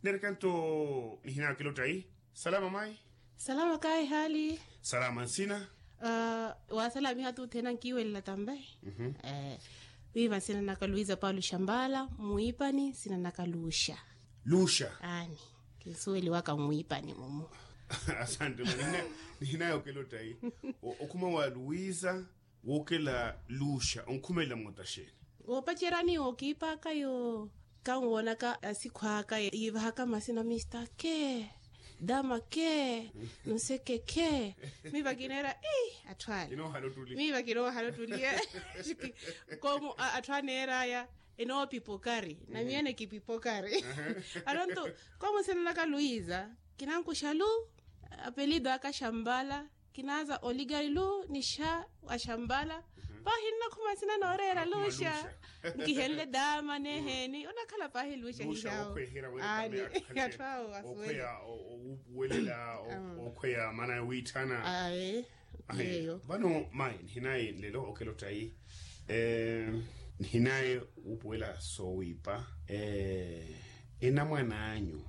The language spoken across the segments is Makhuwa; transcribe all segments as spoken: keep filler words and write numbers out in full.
Nerekanto nihinaya okilotta yi. Salama mayi. Salama kayi hali. Salama nsina. Wasalamiha tuthena nkiwelela tambe. Wiiva nsina naka luisa paulo shambala mwiipani nsina naka luxa. Luxa. Aani. Kinsuweliwaka mwiipani mumu. Asante mwa nihinaya okilotta yi. Okhuma wa luisa. Wookela luxa onkhumelela moota xeeni? Woopacerya ni wookiipaka yo kanwoonaka asikhwaka yiivahaka masina mista kee, dama kee, nseke kee. Miiva kineera ii atthu ale. Miiva kinoohala ottuli. Koomu atthu aneeraya enoopipokari na miyana ekipipokari. Anonto koomu sinanaka luisa kinankuxa lu apelido aka xambala. Kinaaza oligari lu nixa wa xambala. Paahi nnakhuma nsina nooreera luxa. Nkihenle dama neeheeni onakhala paahi luxa hihawo. Aani. Atthu awo afuwele. Okhweya owupuwelela okhweya maana wiitthana. Ayi. Vano mayi nihinayi nlelo okelotta yi. Nihinayi wuupuwela soowiipa. Enamwan'anyu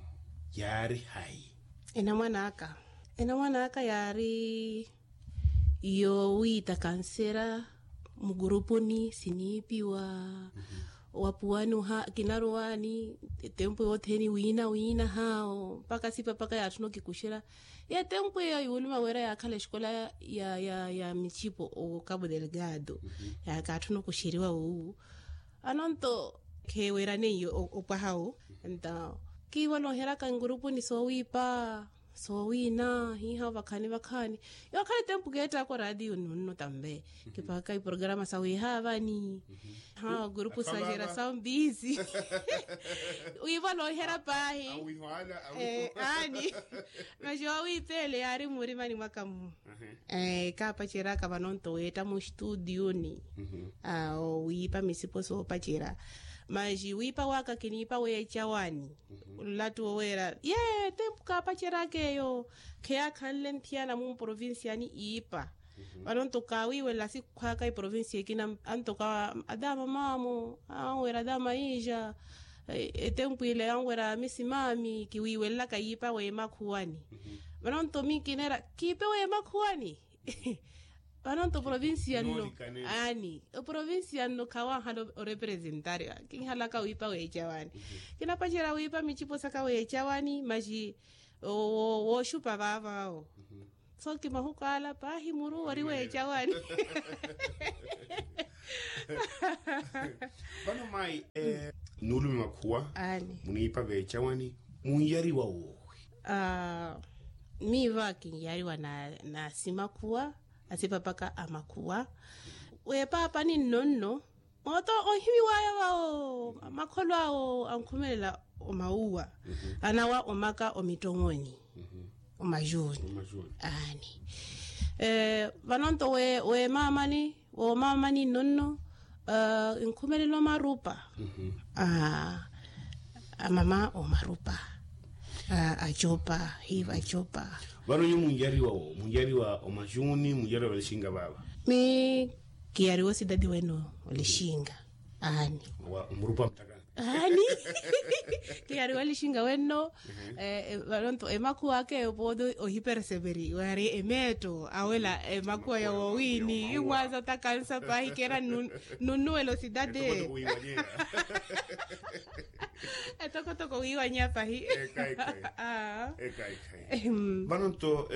yaari hayi? Enamwan'aka enamwan'aka yaari yoowiita kansera. Mukurupuni siniipiwa wapuwani oha kinaruwani. Etempu yothene wiina wiina haawo mpaka sipa mpaka yaatthuna okikuxera. Etempu eyo yuuluma wira yaakhala exikola ya ya ya micipo o cabo delgado. Yaakatthuna okuxeriwa wuwu. Anonto kheewerane iyo opwaha wu. Enta kiivo nooheraka nkurupuni soowiipa soowiina hiiha vakhani vakhani. Yookhala etempu keettaka oraatiyo nunno tambe kipaka iporograma sa wiiha vani. Ha gurupu sa xera sa mbisi. Wiivo noohera paahi. Aani. Maxi oowiipeele yaari mmurimani mwaka mmu. Kaapaceraka vano nto weetta muxtutiyuni. Owiipa misipo soopacera. Maxi wiipa waka kiniipa weecawani. Nlattu woweera ye tempu kaapaceraka eyo. Kheyaakhanle nthiyana mumprovincia ni iipa. Vano nto kaawiiwelela sikhwaka iprovincia ekina antoka adaama maamo anweera adaama inja. Etempu ile yanweera misimaami kiwiiwelelaka yiipa weemakhuwani. Vano nto miikineera kiipe weemakhuwani. Vano nto provincia nno. Aani oprovincia nno khawaahana orepresentari. Kinhalaka wiipa weecawani. Kinapacerya wiipa micipo saka weecawani maxi wooxupa vaavaawo. So kimahuku ala paahi muru ori weecawani. Vano mayi nuulume makhuwa muniipa veecawani munyariwa woowi? Miiva kinyariwa na asimakhuwa asipapaka amakhuwa. Weepaapani nno nno mooto onhimiwaya vawo makholo awo ankhumelela omawuwa anawa omaka omittoweni. Omajuni. Aani. Vano nto weemaamani woomaamani nno nno inkhumelela omarupa. Amama omarupa acopa hiiva acopa. Vano nyu munjariwa wo munjariwa omajuni munjariwa valixinga vaava? Mi kiyariwa osidadi wene olixinga. Aani. Omurupa mutaka. Aani. Kiyariwa olixinga wenno. Vano nto emakhuwa aka eyo pooti ohipereseveri waari emeetto awela emakhuwa ya wowiini imwaza otakansa paahi kera. Nunnuwela osidadi. Etokotoko wiiwanyeya pahi. Vano nto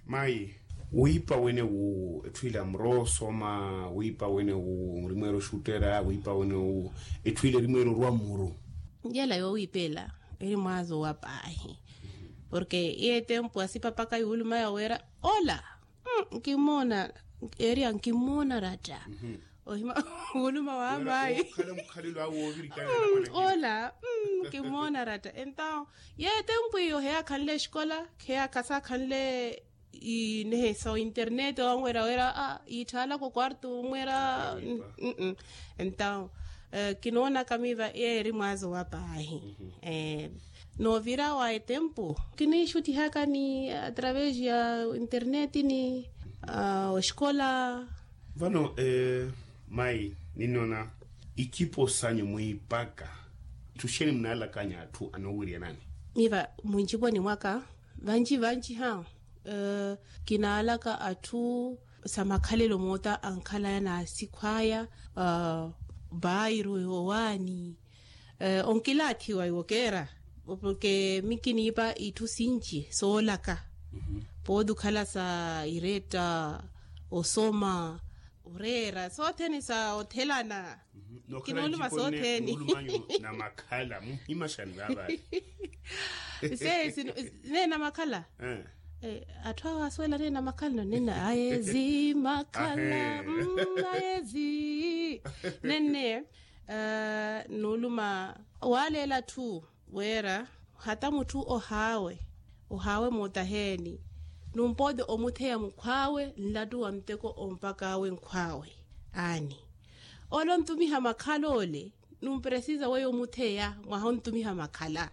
mayi wiipa wene wu etthu ila murosoma wiipa wene wu murimweera oxuttera wiipa wene wu etthu ila erimweera orwa mmuru. Njela yoowiipa ela eri mwazo wa paahi. Porke iye tempu asipapaka yuulumaya weera ola nkimmona. Eriya nkimmona ratta. Ohima wuluma wa mayi. Ola nkimmona ratta entawo ye tempu iyo heyaakhanle exikola. Heyaakhasaakhanle inehe sa internete wanwera wera a iitthaalaka okwartu onwera. Entawo kinoonaka miiva eeri mwazo wa paahi. Noovira wa etempu kiniixuttihaka ni atravesi ya interneti ni oxikola. Vano mayi ninnoona icipo sanyu mwiipaka Itthu xeeni munaalakanya atthu anoowiryanani? Miva munciponi mwaka vanci vanci ha kinaalaka atthu sa makhalelo moota ankhalaya na asikhu aya, bairu owaani, onkilaathiwa iwo keera porke mi kiniipa itthu sinci soolaka pooti okhala sa iretta, osoma, oreera sothene sa othelana. Kinooluma sothene. Namakhala muhimaxani vaavale. Sesi nene namakhala. Atthu awo asuwela nene namakhala no nene aezi makhala. Aezi nene nuuluma waaleela atthu wira hata mutthu ohaawe ohaawe mootaheeni numpooti omutheya mukhwaawe nlattu wa muteko ompakaawe nkhwaawe. Aani ole ontumiha makhala ole numpresiza weyo omutheya mwaha ontumiha makhala.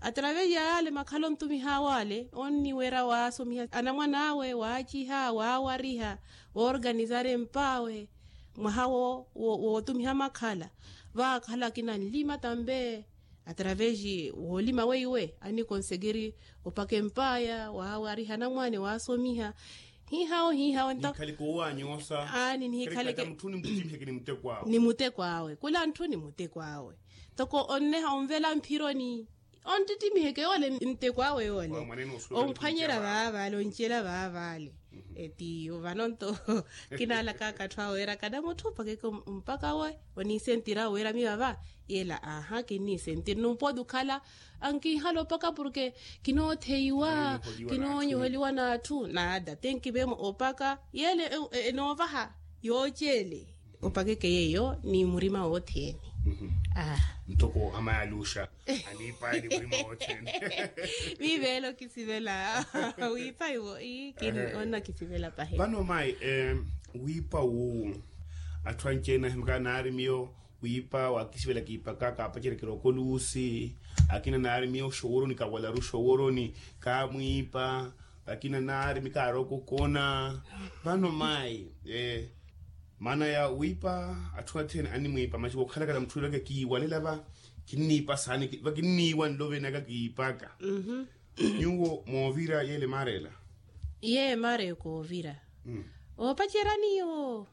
Atravesi ya yaale makhala ontumihaawe ale onniwira waasomiha anamwan'awe waaciha waawariha woorganizara emp'awe mwaha wootumiha makhala. Vaakhala akina nlima tambe atravesi woolima weiwe annikonsegiri opaka emp'aya waawariha anamwane waasomiha. Hihawo hihawo nto. Nikhali koowaanyoosa aani nihikhali ke mutthu ni muteko awe kula ntthu ni muteko awe. Ntoko onneha onvela mphironi onttittimihe ke yoole nteko awe yoole. Omphwanyerya vaavale oncela vaavale. Etiyo vano nto kinaalakaka atthu awe wira kana mutthu opakeke ompaka awe oniisentira awe wira mi vava. Yela aha kinniisentiri numpooti okhala ankinhala opaka porke kinootheiwa kinoonyoheliwa n'atthu nada tenkiveemo opaka yele enoovaha yoocele. Opakeke yeeyo ni murima wothene. Ntoko amayi aluxa aniipaye ni murima wothene. Miiveelo kisivela wiipa iwo ii kini onna kisivela pahe. Vano mayi wiipa wuwu atthu anci-ene ahimaka naari miyo wiipa waakisivela kiipaka kaapaceryakela okoluusi. Akina naari miyo oxoworoni kawalaru oxoworoni kaamwiipa. Akina naari mi kaarookokona. Vano mayi maana ya wiipa atthu athene animwiipa maci wookhalakala mutthu yilaka kiiwalela va kinniipa saani va kinniiwa nlovenaka kiipaka. Nyuwo moovira yele maarela. Iye maareka oovira oopacerya niyo.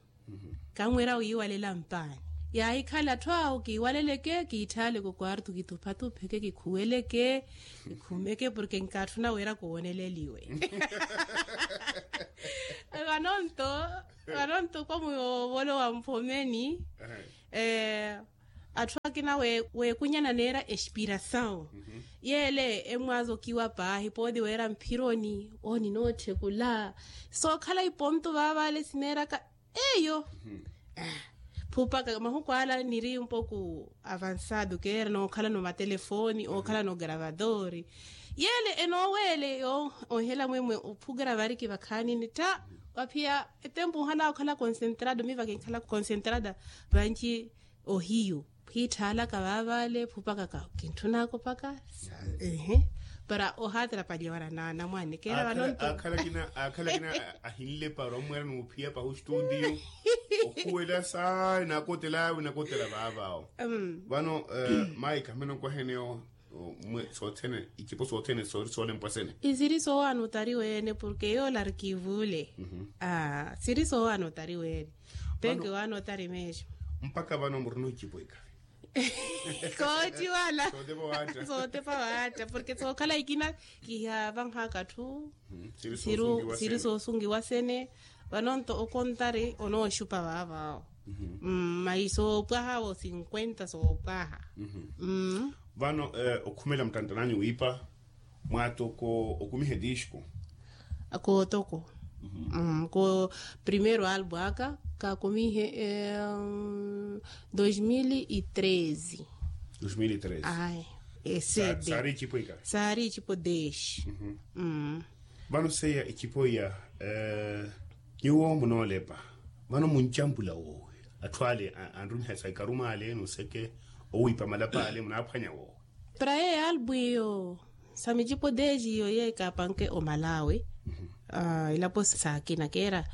Kamwira wiiwalela mpaani yaahikhala atthu awo kiiwaleleke kiitthaaleke okwartu kituphatupheke kikhuweleke kikhumeke porke nkaatthuna wira kuwoneleliwe. Vanonto vanonto kwa muyoovolo wa mphomeni. Atthu akina weekunyana neera espirasawu yeele emwaaza okiwa paahi pooti weera mphironi ooni nootthekula sookhala iponto vaavale sineeraka. Eyo phupaka mahuku ala niri mpoko avansado keera nookhalana omatelefooni ookhalana ogaravatori. Yeele enooweele onhela mwemwe ophugra variki vakhaanini tha. Waphiya etempu ohanaka okhala konsentrado miva kinkhala konsentrada vanci ohiyu khiitthaalaka vaavale phupaka kintthunaka opaka. Para ohaatera palya wala naana mwaani keera vanonto akhala akina ahinle para omweera n'uphiya pahu studio okhuwela saana akotela awe nakotela vaavaawo. Vano mayi khamene onkwaheneyo sothene icipo sothene sori soolempwa sene. Isiri soowaana otari weene porke yoola arikivule. Siri soowaana otari weene. Penke waana otari meexo. Mpakha vano murina ocipo ikhavi. Kootiwala sootepa waatta porke sookhala ikina kihavanhaka atthu. Siri soosungiwa sene. Vanonto okontari onooxupa vaavaawo. Mayi soopwaha vo cinquenta soopwaha. Vano okhumela muttantananyu wiipa mwaatoko okumiha etixiku. Kootoko. Ko primeiro albu aka kaakumihe. Dois mil e treze. Dois mil e treze. Ai esede saari icipo ika saari icipo deshi. Vano seiya icipo iya nyuwo munoolepa vano muncampula woowi atthu ale anrumiha sa ikaruma ale n'useke owiipa malapa ale munaaphwanya woowi. Para yeeyo albu iyo sa micipo deji iyo yeyo kaapanke omalawi. ilapo saakina keera,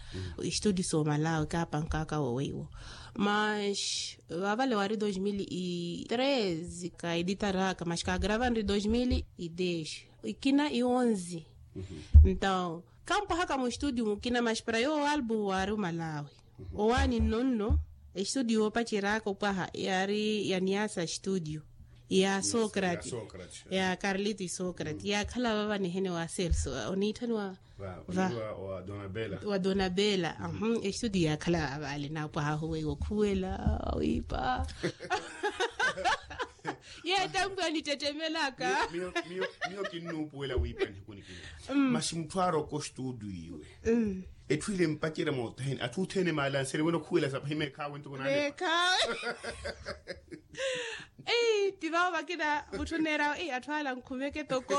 estudio soomalawe kaapankaka wo weiwo. Mas vavale wari dos mil e treze ka editaraka mas kaagrava nri dos mil e dez, ikina i onze. Ntao kampwahaka mustudio mukina mas para yoowo albu wari omalawe. Owaani nnonno estudio yoopaceraka opwaha yari ya niasa studio ya socrate, ya carlito isocrate yakhala vava nihene wa celso oniitthaniwa va wa donabela. Estudio yakhala vava ale naapwaha ahuweiwa okhuwela wiipa. Ye tempu anittettemelaka. Miyo kinnuupuwela wiipa nihikunikina. Masi mutthu aroka ostudio iwe etthu ile mpacerya moothene atthu othene maalansele wene okhuwela sapahi meekhawe ntuku nale. Meekhawe. Ei ti vavo vakina mutthu neerawe ei atthu ala nkhumeke toko.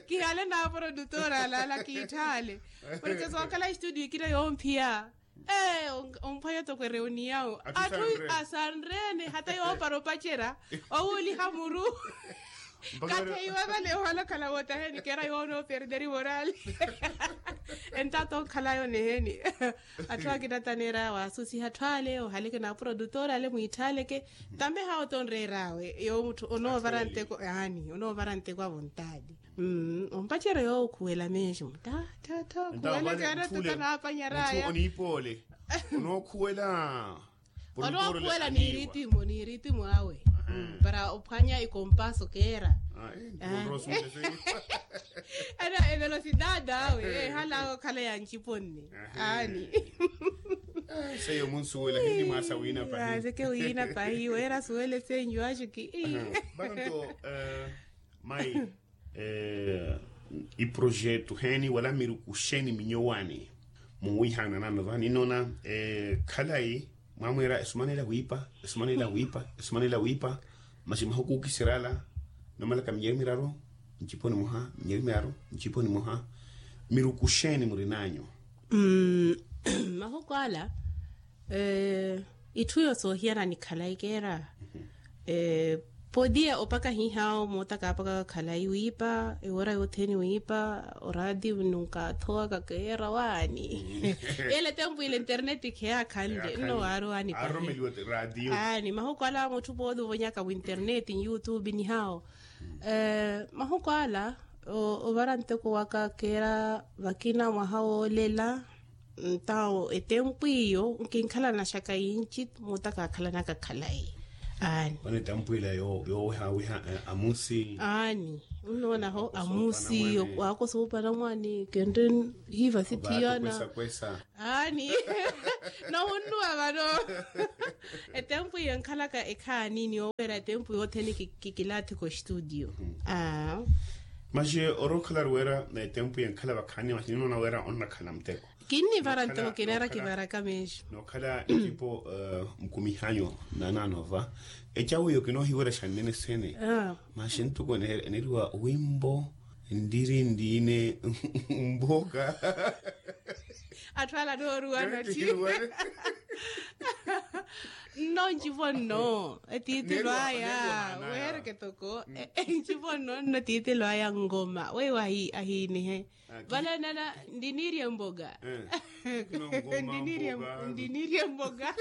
Kihale naaprodutora alaala kiitthale. Porke sookhala estudio ikina yoomphiya. Ee omphwanya toko ereuniyawo atthu asanrene hata yoopara opacerya owuuliha muru. Katheiwe vale ohala okhala wootaheni keera yoona operderi morali. Entato onkhala yoneheni. Atthu akina taneera waasusiha atthu ale ohaleke na aprodutora ale mwiitthaaleke. Tambe hawo tonreeraawe yowo mutthu onoovara nteko yaani onoovara nteko a vontadi. Ompacerya yowo okhuwela mesmo ta ta ta okhuwela kaana tuta naapanyaraya. Oniipoole onookhuwela. Onookhuwela niiritimo niiritimo awe para ophwanya ikompaso keera. Ena evelosidade awe ehalawe okhala ya ncipo nne. Aani. Seiyo munsuwela hini mwaasa wiina pahi. Seke wiina pahi weera asuwele senyu achuki. Vano nto mai iprojeto heni wala miruku xeni minyowani? Muwiihana nano vani nona khalayi mwamwiira esumanela wiipa esumanela wiipa esumanela wiipa. Masi mahuku okisirala nomalaka minyeri miraru ncipo nimoha minyeri miraru ncipo nimoha. Miruku xeni murinanyu? Mahuku ala itthu yo soohiyana ni khalayi keera. Podia opaka hihawo moota kaapaka khalayi wiipa ewora yothene wiipa. Oraati nunkathowaka keera waani. Ele tempu ile internet kheyakhanle nno waari waani pahi. Aani mahuku ala mutthu pooti ovonyaka wi internet ni youtube ni hawo. Mahuku ala ovara nteko waka keera vakina mwaha woolela. Ntawo etempu iyo nkinkhalana xaka yinci muta kaakhalanaka khalayi. Aani. Mane etempu ila yoowihawiha amusi. Aani. Nnoonaho amusi wakosoopana mwaani kentte hiiva sithiyana. Aani. Nohunnuwa vano. Etempu iyo nkhalaka ekhaani ni oweera etempu yothene kikilaathika ostudio. Masi orookhala ari weera etempu yenkhala vakhaani masi ninoona weera onnakhala muteko. Kinnivara ntoko kineera kivaraka mesmo. Nookhala ecipo mukumihanyo nananova ecawu iyo kinoohiwerya xannene sene. Masi ntuku eneriwa wimbo ndiri ndiine mboka. Atthu ala nooruwa nati. Nno ncipo nno etiitilo aya. Weereke toko ncipo nno nno etiitilo aya ngoma weiwo ahiinihe. Vale nana ndiniirye mboga. Ndiniirye mboga.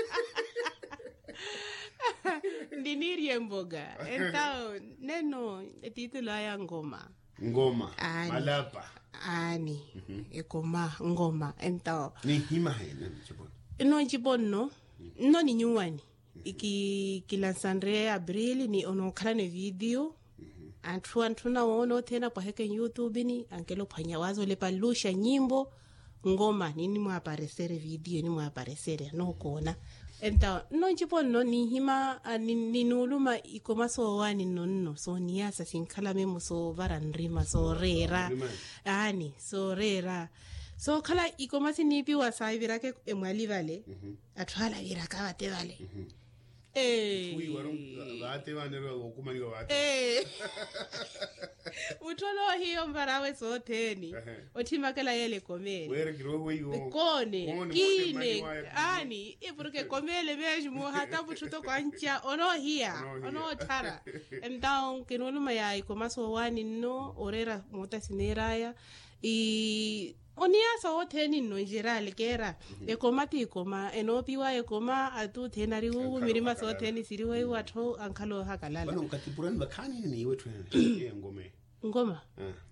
Ndiniirye mboga. Entawo neno etiitilo aya ngoma. Ngoma. Aani. Malapa. Aani. Ekoma ngoma entawo. Ninhimahene ncipo nno. Nno ncipo nno nno ni nyuwani. Kilansanre abril ni onookhalana evidiyo. Atthu antthuna woona othene apwaheke nyutube ni ankela ophwanya waaza olepa nluxa nyimbo. Ngoma ninimwaaparesere vidiyo enimwaaparesere anookoona. Entawo nno ncipo nno ninhima ninuuluma ikoma soowaani nno nno sooniyasa sinkhala memo soovara nrima sooreera. Aani sooreera sookhala ikoma siniipiwa saaviraka emwali vale. Atthu ale aviraka vate vale. Mutthu onoohiya omvarawe sothene. Otthimakela yeela ekomeele. Koone kiine. Aani porke ekomeele mesmo hata mutthu toko anca onoohiya. Onootthara. Entawo kinuuluma ya ikoma soowaani nno oreera moota sineeraya. Oniya soothene nno njerali keera. Ekoma ti ekoma enoopiwa ekoma atuthene ari wuwu mirima soothene siriweiwa atthu ankhala ohakalala. Vano nkatipurani vakhanini niiwe etthu ene? Eyo ngoma eyo. Ngoma.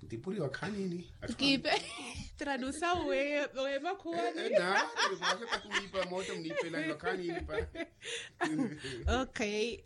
Ntipuriwa khanini? Kiipe. Tradusa wemakhuwani? Nari vaxaka kuniipa moota muniipelani vakhanini pa. Okay.